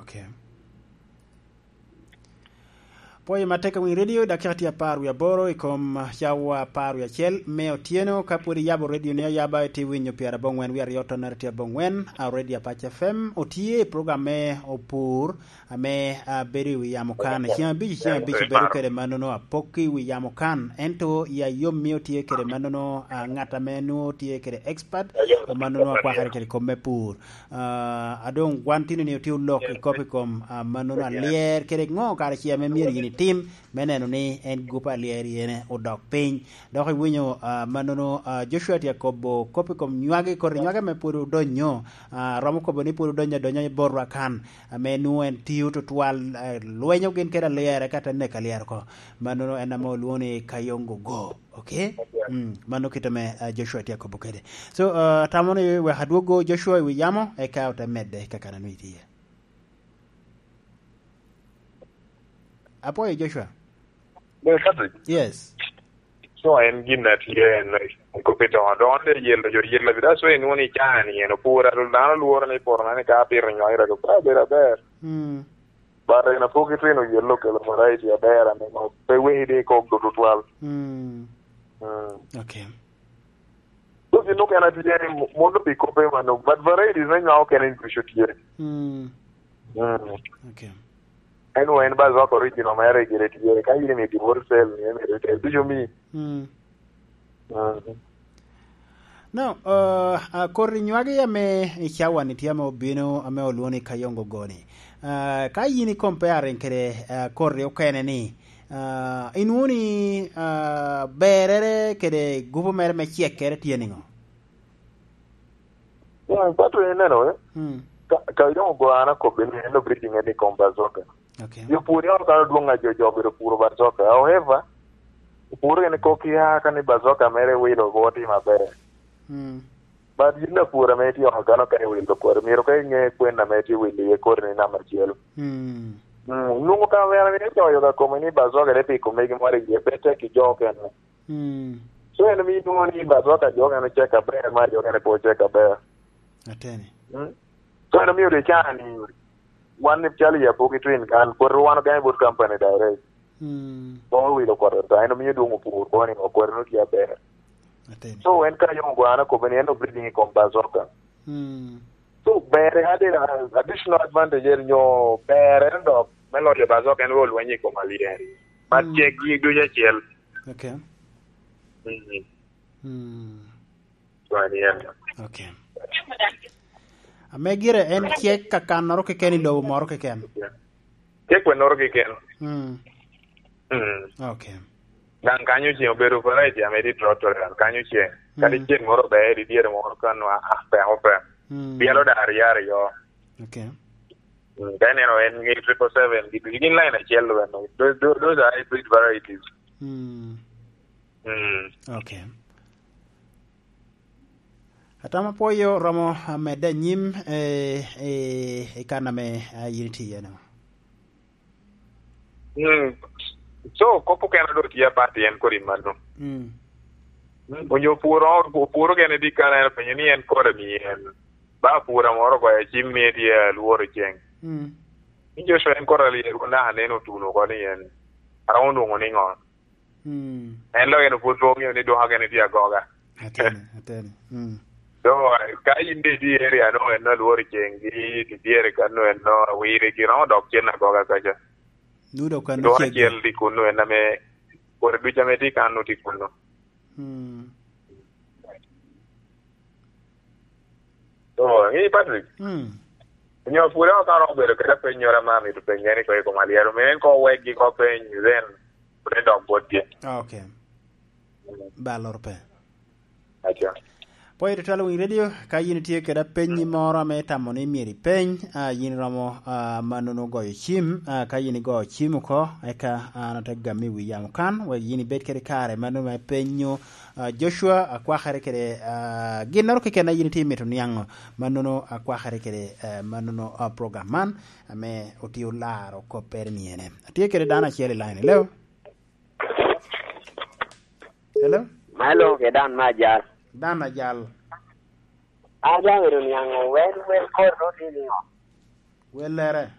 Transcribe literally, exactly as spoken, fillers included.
Okay. Pwoyo matek awiny radio, dakika tye apar wie aboro i kom cawa apar wie acel me otyeno. Ka pwod iyabo radio ni ayaba, itye winyo pyera abongwen wie aryo tonere tye abongwen, a Radio Apac F M. Otye i program me Opur, ame, a, bedo i wi yamo kan. Ceng abic, ceng abic bedo kede mannono apok i wi yamo kan. Ento i ayom mio tye kede mannono, a, ngat ame nwo tye kede expert, a, mannono akwakere kede kom me pur. Ah, a doŋ wan tino ni otye olok i kop i kom, ah, mannono alyer kede ŋo kara ce ame myero yin itim me neno ni en gupe alyer yene odok piny. Dok iwinyo, ah, mannono, ah, Joshua tye akobo kop i kom nywagi, kodi nywagi ame pwod odonyo, ah, romo kobo ni pwod odonyo adonya i botwa kan, ame nwo en tio tutwal, eh, lwenyo gin kede alyer, eka te neko alyer oko. Mannono en ame olwoŋo ni Kayongo Go. Okay? Mm, mano kit ame, ah, Joshua tye akobo kede. So, ah, atamo ni wek adwoggo Joshua i wi yamo, eka ote medde kakana nwi tye. Apwoyo Joshua. Yes. So en gin a tye en, kop i doŋo doŋo de yelo jo yelo bi. That's why inwoŋo ni caa ni en opur, a dano lworo ni poto na ni ka pito nywakere, to ka bedo aber. Mm. But en apoki twino yellow kelo variety aber ame pe weki di kok do tutwal. Mm. Mm. Okay. So gin okene tye ni mo-, mondo pi kope mano, but varieties me nywako okene ducu tye. Mm. Mm. Okay. Anyway, en Bazok original mere gire tye. Ka in imito wholesale, ni en retail, ducu mi. Mm. Mm. No, uh, uh, koti nywagi ame i cawa-ni tye ame obino, ame olwoŋo ni Kayongo Go-ni. Uh, ka yin i comparing kede, uh, koti okene-ni, uh, inwoŋo ni, uh, berrere kede gupu mere me cekkere tye niŋo? Mm, pato ineno, eh? Mm. Ka, Kayongo Go an akobbe ni en obreeding en i kom Bazoka. Okay. Jo pur yam kan odwoŋ a jo, jo obedo puro Bazoka. However, opuro gini kok ya ka ni Bazoka mere wilo go timo maber. Mm. But yin apur ame itye oko kano ka iwilo kore, myero ka inge kwen ame itye wilo iye kore ni namba acel. Mm. Mm, nwoŋo ka wera ni icoyo ka kome ni Bazoka ne piko megi moro iye, pe tek i jo okene. Mm. So en omio inwoŋo ni Bazoka jo okene ocek aber, ma jo okene pe ocek aber. Ateni. Mm. So en omio de caa ni wan ni calo i Apoki Twin kan, kwoto wan ogamo bot company direct. Mm. Koŋ owilo kwoto ta, en omio dwoŋ opur koŋ ni kwoto no tye aber. Ateni. So en ka yom gwana kobbe ni en obreeding i kom Bazoka. Mm. So ber en addi-, additional advantage en nyo ber en dok me loyo Bazoka en ru olweny i kom alyeri. Ma mm, ceggi ducu acel. Okay. Mm. Mm. Twani en. Okay. Ame gire en cek kakannoro keken i lobo moro keken. Cek wennoro keken. Mm. Mm. Okay. Daŋ kanyo ceng obedo variety ame tye drought tolerant. Kanyo ceng. Kadi mm, ceng moro ber, i dyere moro ka nwa, ah, peko pek. Mm. Byelo da aryo aryo. Okay. Mm, ka ineno en nge triple seven, gi, gin line acel weno. Those, those, those are hybrid varieties. Mm. Mm. Okay. Atamo pwoyo romo, ah, medde anyim, eh, eh, i kan ame, ah, yin itye iye-nu. Mm. So, kop okene do tye apat en kodi mano. Mm. Mm, onyo opuro, opuro gene di kan en openyo ni en kore mi en. Ba pura moro goyo cim ni tye alworo ceng. Mm. Ni Joshua en kore alyeru naka nen otuno oko ni en. Aromo nwoŋo niŋo? Mm. En lo en opwod pe oŋeo ni dwoka gene tye agoga. Ateni, ateni. Mm. So, ka in de itye i area no, en no alworo ceng gi, tye dyere kan no, en no awire gi, romo dok cen agoga kaca. Nudo kan dwoka ceggi. Acel tye kunnu, en ame, kore ducu ame tye kan no tye kunnu. Mm. So, ŋi Patrick? Mm. Onyo pwod ame ka romo bedo kede apennyoro ame amito penye ni ko i kom alyero, mio en ko wekgi ko peny, then pwod en dok botgi. Ah, okay. Mm. Ba loro pe. Aco. Pwoyo tutwal winy radio, ka yin itye kede apenyi moro ame itamo ni myero ipeny, ah, yin romo, ah, mannono goyo cim, ah, ka yin igoyo cim oko, eka an ate gami wi yamo kan, wek yin ibed kede kare mannono me penyo, ah, Joshua, akwakere kede, ah, ginnoro keken a yin itye mito niaŋo, mannono akwakere kede, eh, mannono, ah, program man, ame otye olaro koppere ni ene. Atye kede dano acel i line, hello? Hello? Malo, ke dan ma ajal. Dan ajal. Ajal ero niaŋo wel, wel kor no tye niŋo? Wellere.